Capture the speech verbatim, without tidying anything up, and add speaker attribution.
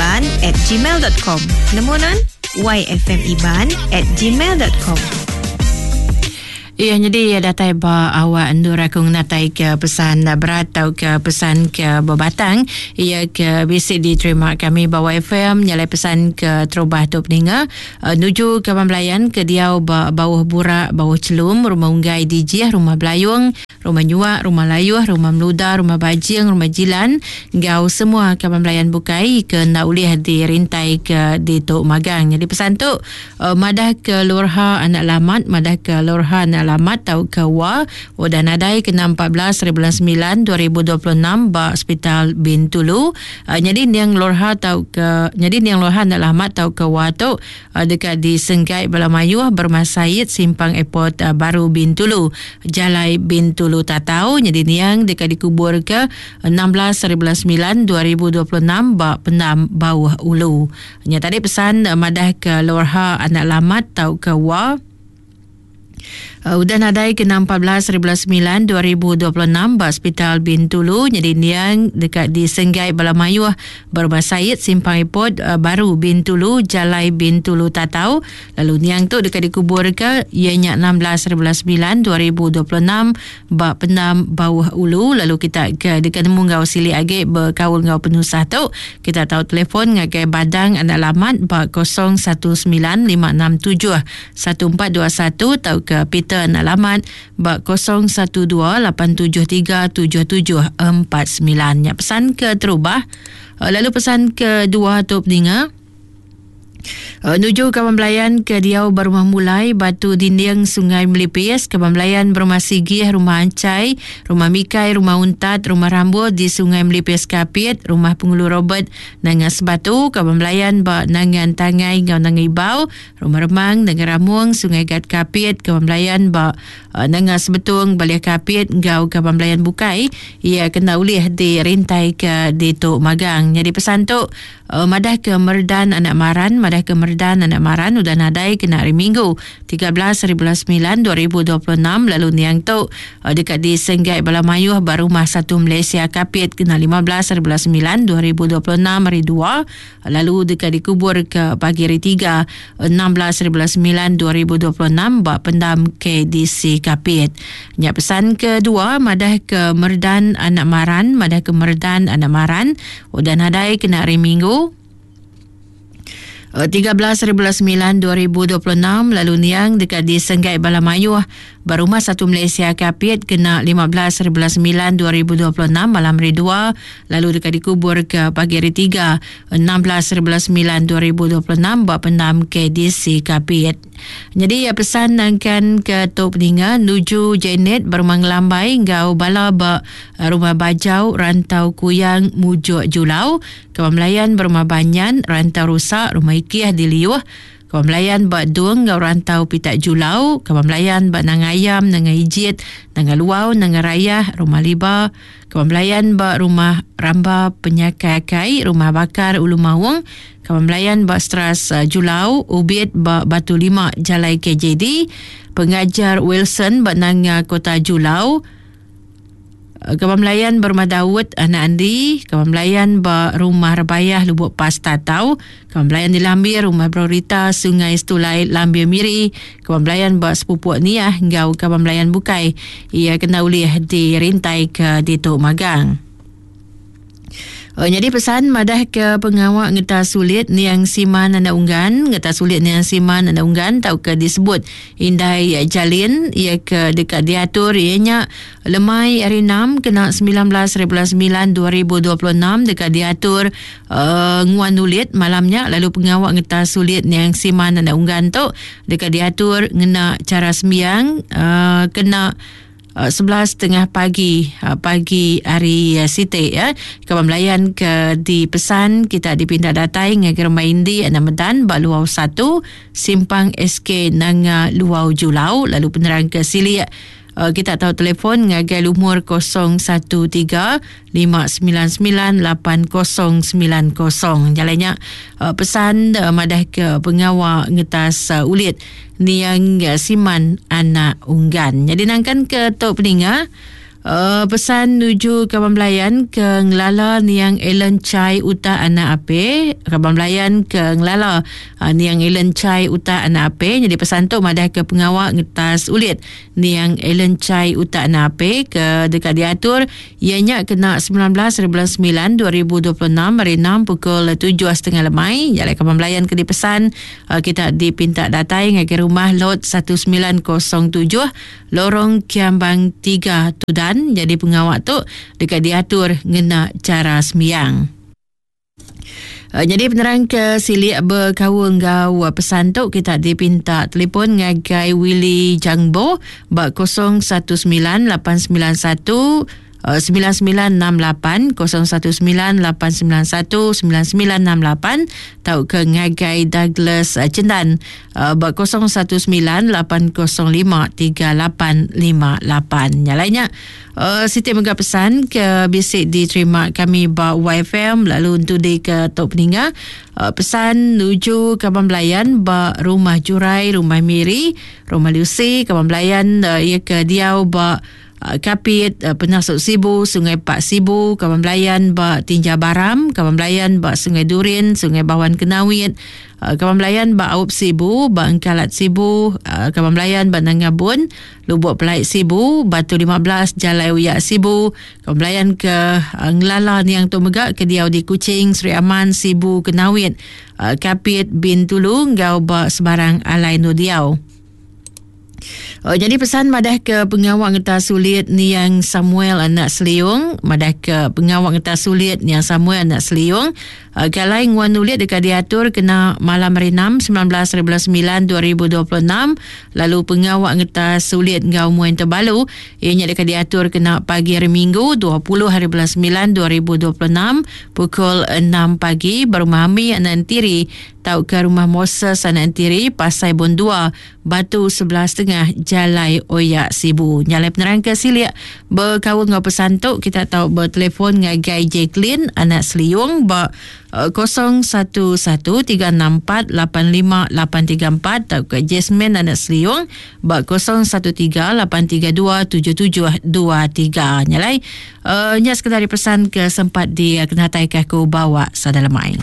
Speaker 1: yfmiban at gmail dot com. Nemu nan? yfmiban at gmail dot com.
Speaker 2: Iya, jadi datai ba awak endur aku ngatai ke pesan berat atau ke pesan ke berbatang. Ia ke bisi diterima kami ba Y F M nyalai pesan ke terubah tu peninga. Uh, nuju ke Belayan ke diau ba bawah burak, bawah celum, rumah unggai dijih, rumah belayung, rumah nyuak, rumah layuh, rumah meluda, rumah bajing, rumah jilan, gau semua kaban belayan bukai ke nak ulih dirintai ke di Tok Magang. Jadi pesan tu uh, madah ke Lurha anak lamat, madah ke Lurha anak lamat tau ke wa udah nadai kena empat belas hari bulan sembilan dua ribu dua puluh enam ba Hospital Bintulu. Uh, jadi niang Lurha tau ke jadi niang Lurha anak lamat tau ke wa tu uh, dekat di Senggai Balamayuh Bermah Said Simpang Airport uh, Baru Bintulu, Jalai Bintulu Tatau. Jadi niang dekat dikubur ke enam belas hari bulan sembilan dua ribu dua puluh enam ba Pendam Bawah Ulu. Nya tadi pesan uh, madah ke Lurha anak lamat tau ke wa Uh, udah nadai kena empat belas hari bulan sembilan dua ribu dua puluh enam ba Hospital Bintulu. Jadi niang dekat di Senggai Balamayuh Bermah Said Simpang Airport uh, Baru Bintulu, Jalai Bintulu Tatau. Lalu niang tu dekat dikubur ke ianya enam belas hari bulan sembilan dua ribu dua puluh enam ba Pendam Bawah Ulu. Lalu kita ke dekat nemu ngau silik agi berkaul ngau penusah tu, kita tahu telefon ngagai Badang anak lamat ba kosong satu sembilan lima enam tujuh satu empat dua satu atau ke Peter anak lamat ba kosong satu dua lapan tujuh tiga tujuh tujuh empat sembilan. Ya, pesan ke terubah. Lalu pesan kedua tu peninga. Uh, nuju kawan belayan ke diau berumah mulai Batu Dinding Sungai Melipis, kawan belayan berumah Sigih, rumah Ancai, rumah Mikai, rumah Untat, rumah Rambut di Sungai Melipis Kapit, rumah Pengulu Robert Nangan Sebatu, kawan belayan ba Nangan Tangai ngau Nangan Ibau, rumah Remang Nangan Ramung Sungai Gat Kapit, kawan belayan ba uh, Nangan Sebetung Balih Kapit ngau kawan belayan bukai ia kena ulih dirintai ke di Tok Magang. Jadi pesan tu uh, madah ke Merdan anak Maran, madah ke Merdan anak Maran udah nadai kena hari Minggu tiga belas hari bulan sembilan dua ribu dua puluh enam. Lalu niang tu uh, dekat di Senggai Balamayuh Barumah Satu Malaysia Kapit kena lima belas hari bulan sembilan dua ribu dua puluh enam hari dua. Lalu dekat dikubur ke pagi hari tiga enam belas hari bulan sembilan dua ribu dua puluh enam bak pendam K D C Kapit. Nyak pesan kedua madah ke Merdan anak Maran, madah ke Merdan anak Maran udah nadai kena hari Minggu tiga belas hari bulan sembilan dua ribu dua puluh enam. Lalu niang dekat di Senggai Balamayuh Barumah Satu Malaysia Kapit kena lima belas hari bulan sembilan dua ribu dua puluh enam malam hari dua. Lalu dekat dikubur ke pagi hari tiga enam belas hari bulan sembilan dua ribu dua puluh enam buat pendam K D C Kapit. Jadi ya pesan nangkan ke Tok Peninga nuju Janet Berumah Ngelambai ngau bala ba Rumah Bajau Rantau Kuyang Mujuk Julau, Kawan Melayan Berumah Banyan Rantau Rusak Rumah Ikiah di Liuh, Kawan Melayan bak Dung ngau Rantau Pitak Julau, Kawan Melayan bak Nanga Ayam Nanga Ijit Nanga Luau Nanga Rayah Rumah Liba, Kawan Melayan bak Rumah Ramba Penyakai Akai Rumah Bakar Ulu Maung, Kawan Melayan bak Stras Julau Ubit bak Batu Lima Jalai K J D, Pengajar Wilson bak Nanga Kota Julau, Kawan Melayan Berumah Daud Anak Andi, Kawan Melayan ba Rumah Rebayah Lubuk Pas Tatau, Kawan Melayan di Lambir Rumah Brorita Sungai Stulai Lambir Miri, Kawan Melayan ba Sepupuk Niah ngau Kawan Melayan Bukai ia kena ulih dirintai ke di Tok Magang. Oh, jadi pesan madah ke pengawak ngeta sulit niang Siman anak unggan, ngeta sulit niang Siman anak unggan tau ke disebut Indai Jalin ia ke dekat diatur ianya lemai hari enam kena sembilan belas hari bulan sembilan dua ribu dua puluh enam dekat diatur uh, nguan ulit malamnya. Lalu pengawak ngeta sulit niang Siman anak unggan tu dekat diatur ngena cara sembiang uh, kena sebelas setengah pagi pagi hari Siti ya. Kawan Melayan ke dipesan kita dipindah datai ngagai Rumah Indi Anak Medan bak Luau satu Simpang S K Nanga Luau Julau. Lalu penerang ke Silik kita tahu telefon ngagai lumur kosong satu tiga lima sembilan sembilan lapan kosong sembilan kosong. Jalannya pesan madah ke pengawak ngetas ulit niang Siman anak unggan. Jadi nangkan ke Tok Peninga Uh, pesan nuju kaban belayan ke ngelala niang Ellen Chai Uta Anak Ape. Kaban belayan ke ngelala uh, niang Ellen Chai Uta Anak Ape. Jadi pesan tu madah ke pengawak ngetas ulit niang Ellen Chai Uta Anak Ape ke dekat diatur ianya kena sembilan belas bulan sembilan dua ribu dua puluh enam hari enam pukul tujuh setengah lemai. Jadi kaban belayan ke dipesan uh, kita dipinta datai ngagai rumah lot satu sembilan kosong tujuh Lorong Kiambang tiga Tudan. Jadi pengawak tu dekat diatur ngena cara sembiang. Uh, jadi penerang ke silik berkaul ngau pesan tu kita dipinta telefon ngagai Willy Jangbo bak kosong satu sembilan lapan sembilan satu sembilan sembilan enam lapan kosong satu sembilan lapan sembilan satu sembilan sembilan enam lapan tau ke ngagai Douglas Cendan bak kosong satu sembilan lapan kosong lima tiga lapan lima lapan. Yang lainnya uh, Siti mega pesan ke bisik diterima kami bak Y F M lalu untuk di ke Tok Peninga uh, pesan nuju kaban belayan bak rumah Jurai, rumah Miri, rumah Lucy, kaban belayan uh, ia ke diau bak Kapit, Penasuk Sibu, Sungai Pak Sibu, kaban belayan bak Tinja Baram, kaban belayan bak Sungai Durin, Sungai Bawan Kenawit, kaban belayan bak Aup Sibu, bak Engkalat Sibu, kaban belayan bak Nangabun, Lubuk Pelait Sibu, Batu lima belas, Jalai Uyak Sibu, kaban belayan ke Ngelala Niang Tu Megak, ke diau di Kuching, Sri Aman, Sibu, Kenawit, Kapit, Bintulu, ngau bak Sebarang Alai Nu Diau. Oh, jadi pesan madah ke pengawak ngetas sulit niang Samuel anak Seliung, madah ke pengawak ngetas sulit niang Samuel anak Seliung, uh, galai nguan nulit dekat diatur kena malam hari enam sembilan belas bulan sembilan dua ribu dua puluh enam, lalu pengawak ngetas sulit ngau muan terbalu ianya dekat diatur kena pagi hari Minggu dua puluh hari bulan sembilan dua ribu dua puluh enam pukul enam pagi berumah Ami anak Entiri tau ke rumah Moses anak Entiri Pasai Bon dua Batu sebelas tengah Jalai Oyak Sibu. Nyalai penerang ke silik berkaul ngau pesan tu kita tahu bertelefon ngagai Jacqueline anak Seliung ba kosong satu satu tiga enam empat lapan lima lapan tiga empat atau ke Jasmine anak Seliung ba kosong satu tiga lapan tiga dua tujuh tujuh dua tiga. Nyalai uh, nya sekadar pesan ke sempat di kenatai ke aku bawa sadalamai.